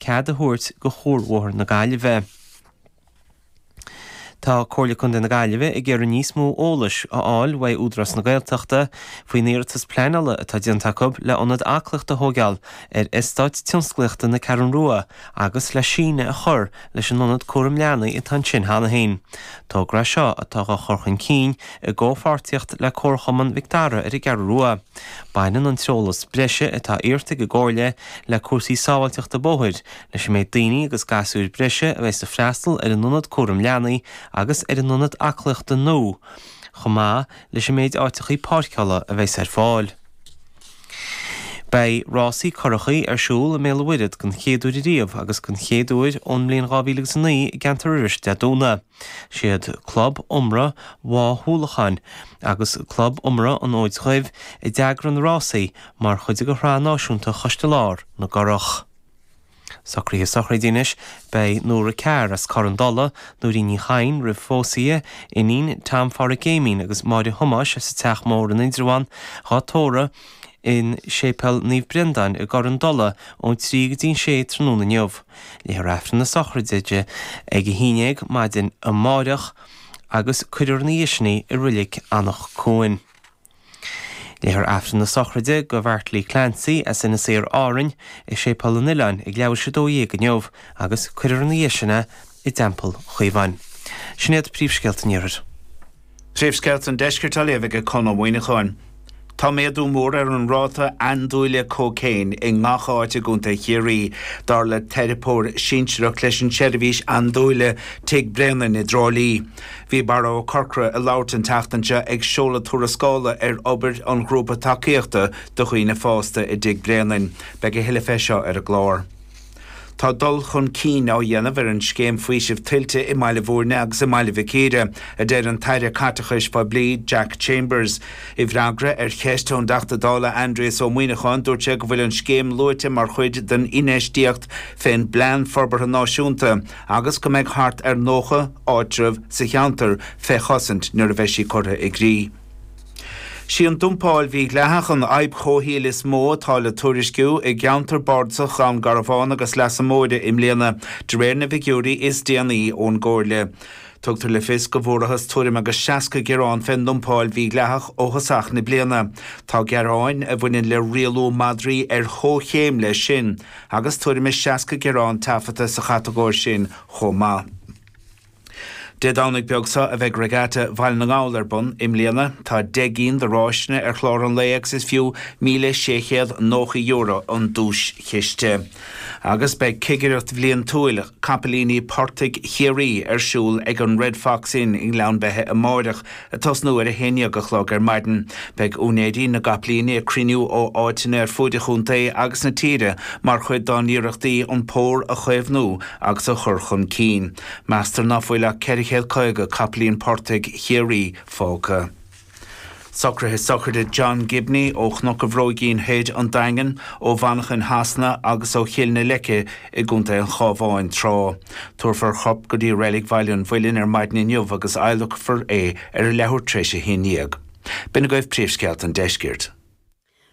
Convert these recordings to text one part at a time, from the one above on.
Cead a thabhairt do Chuarbhóthar na Gaillimhe. Tá Comhairle Contae na Gaillimhe ag iarraidh níos mó eolais a fháil uaidh Údarás na Gaeltachta faoin iarratas pleanála atá déanta acu le ionad aclaíochta a thóigeáil ar eastát tionsclaíochta na Ceathrún Rua agus le síneadh a chur leis an ionad cúram leanaí atá ansin cheana féin. Togra é seo atá á chur chun cinn i gcomhpháirtíocht le Comharchumann Mhic Dara ar an gCeathrú Rua. Baineann an t-eolas breise atá iarrta ag an gComhairle le cúrsaí sábháilteachta bóthair, leis an méid daoine agus gasúir breise a bheas ag freastal ar an ionad cúram leanaí agus ar an ionad aclaíochta nua, chomh maith leis an méid áiteachaí páirceála a bheas ar fáil. Beidh rásaí curachaí ar siúl i mBéal an Mhuirthead den chéad uair ariamh agus den chéad uair ón mbliain 2009 i gceantar Iorrais Dé Domhnaigh. Siad Club Iomramh Mhaigh Thulacháin agus Club Iomramh an Fhóid Dhuibh a d'eagraigh na rásaí mar chuid de Shraith Náisiúnta Choiste Lár na gCurach. Socruithe sochraide anois, beidh Nóra Carr as Corr an Dola, Nóirín Ní Chadhain roimh phósadh di, iníon Tom Pháraic Éimín agus Máire Thomáis as an Teach Mór in Indreabhán, dhá tórramh in Séipéal Naomh Breandán i gCorr an Dola ón 3 go dtí an 6 tráthnóna inniu. Léifear Aifreann na sochraide di ag 11 maidin amáireach agus cuirfear ina dhiaidh sin í i Reilig Anach Cuain. Léifear Aifreann na sochraide do Bheartlaí Clancy as Inis Oírr Árainn i Séipéal an Oileáin ag leathuair tar éis 12 inniu agus cuirfear ina dhiaidh sin é i dTeampall Chaomháin. Sin iad príomhscéalta an Iarthair. Príomhscéalta an Deiscirt á léamh ag Conn Ó Muíneacháin. Tá méadú mór ar an ráta andúile cócaon i ngach áit i gContae Chiarraí, dar le teiripeoir sinsearach leis an tseirbhís andúile Tigh Bréanainn i dTrá Lí. Bhí Barra Ó Corcora ag labhairt an tseachtain seo ag seoladh tuarascála ar obair an ghrúpa tacaíochta do dhaoine fásta i dTigh Bréanainn. Beidh a thuilleadh fé seo ar an gclár. Tá dul chun cinn á dhéanamh ar an scéim faoisimh tuilte i mBaile Bhúirne agus i mBaile Mhic Íre, a deir an tAire Caiteachais Phoiblí Jack Chambers. I bhfreagra ar cheist ón dTeachta Dála Aindrias Ó Muíneacháin dúirt sé go bhfuil an scéim luaite mar chuid den infheistíocht fén bPlean Forbartha Náisiúnta agus go mbeidh thart ar 90 áitreabh sa cheantar fé chosaint nuair a bheidh sí curtha i gcrích. Sí an dumpáil mhídhleathach an fhadhb chomhshaoil is mó atá le tuairisciú i gceantar bardasach Dhún Garbhán agus Leasa Móire i mbliana, de réir na bhfigiúirí is déanaí ón gComhairle. Tugtar le fios go bhfuarathas tuairim agus 60 gearán fén ndumpáil mhídhleathach ó thosach na bliana. Tá gearáin a bhaineann le rialú madraí ar chomhchéim leis sin. agus tuairim is 60 gearán taifeadta sa chatagóir sin chomh maith. Dé Domhnaigh beag seo a bheidh Regatta Bhaile na nGall ar bun i mbliana. Tá 10 gcinn de ráiseanna ar chlár an lae agus is fiú €1,690 an duaischiste. Agus beidh cigireacht bhliantúil capaillíní portaigh Chiarraí ar siúl ag an Red Fox Inn i nGleann Beithe amáireach Ag tosnú ar a 11 a chlog ar maidin, beidh úinéirí na gcapaillíní ag cruinniú ó áiteanna ar fuaid an chontae agus na tíre mar chuid dá n-iarrachtaí an pór a chaomhnú agus a chur chun cinn. Meastar ná fuil ach 450 capaillín portaigh Chiarraí fágtha. Socruithe sochraide John Gibney ó Chnoc an Bhróigín Thoir, An Daingean, ó Mhanchain Shasana agus ó Chill na Leice i gContae an Chábháin tráth. Tabharfar a chorp go dtí Reilig Bhaile an Mhuilinn ar maidin inniu agus adhlacfar é ar a leathuair tar éis a haon dhéag. B'in agaibh príomhscéalta an deiscirt.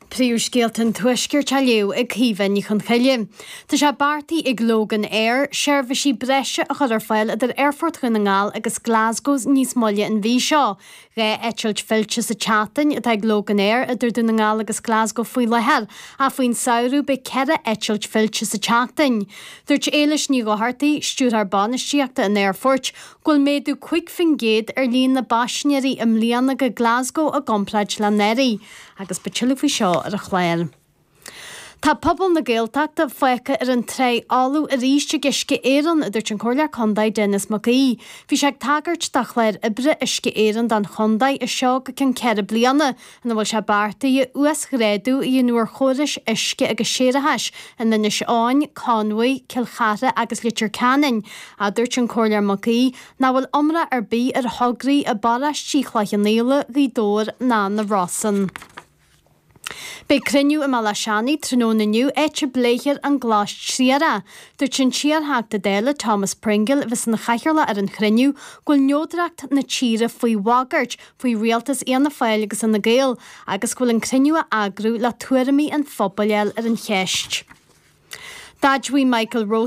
Príomhscéalta an Tuaiscirt á léamh ag Caoimhe Ní Chonchoille. Tá sé beartaithe ag Loganair seirbhísí breise a chur ar fáil idir Aerfort Dhún na nGall agus Glasgow níos moille an mhí seo. 2 eitilt fillte sa tseachtain atá ag Loganair idir Dún na nGall agus Glasgow faoi láthair, ach faoin samhradh beidh 4 eitilt fillte sa tseachtain. Dúirt Éilis Ní Dhochartaigh, Stiúrthóir Bainistíochta an Aerfoirt, go bhfuil méadú 5% ar líon na bpaisinéirí i mbliana go Glasgow i gcomparáid le anuraidh, agus beidh tuilleadh faoi seo ar an chlár. Tá pobal na Gaeltachta fágtha ar an trá fholamh arís ag Uisce Éireann, a dúirt an Comhairleoir Contae Denis Mac Aoidh. Bhí sé ag tagairt do chlár oibre Uisce Éireann don chontae as seo go ceann 4 bliana, ina bhfuil sé beartaithe uasghrádú a dhéanamh ar chórais uisce agus séarachais in Inis Eoghain, Conmhaigh, Cill Chartha agus Leitir Ceanainn. Ach dúirt an Comhairleoir Mac Aoidh nach bhfuil iomrá ar bith ar thograí i bparóistí Chloich Cheann Fhaola, Ghaoth Dobhair ná na Rosann. Beidh cruinniú i mBéal Átha Seanaidh tráthnóna inniu áit a bpléifear an Glas Triarach. Dúirt an t-iarTheachta Dála Thomas Pringle, a bheas ina chathaoirleach ar an chruinniú, go bhfuil neodracht na tíre faoi bhagairt faoi rialtas Fhianna Fáil agus Fhine Gael agus go bhfuil an cruinniú á eagrú le tuairimí an phobail a fháil ar an cheist. D'admhaigh Michael.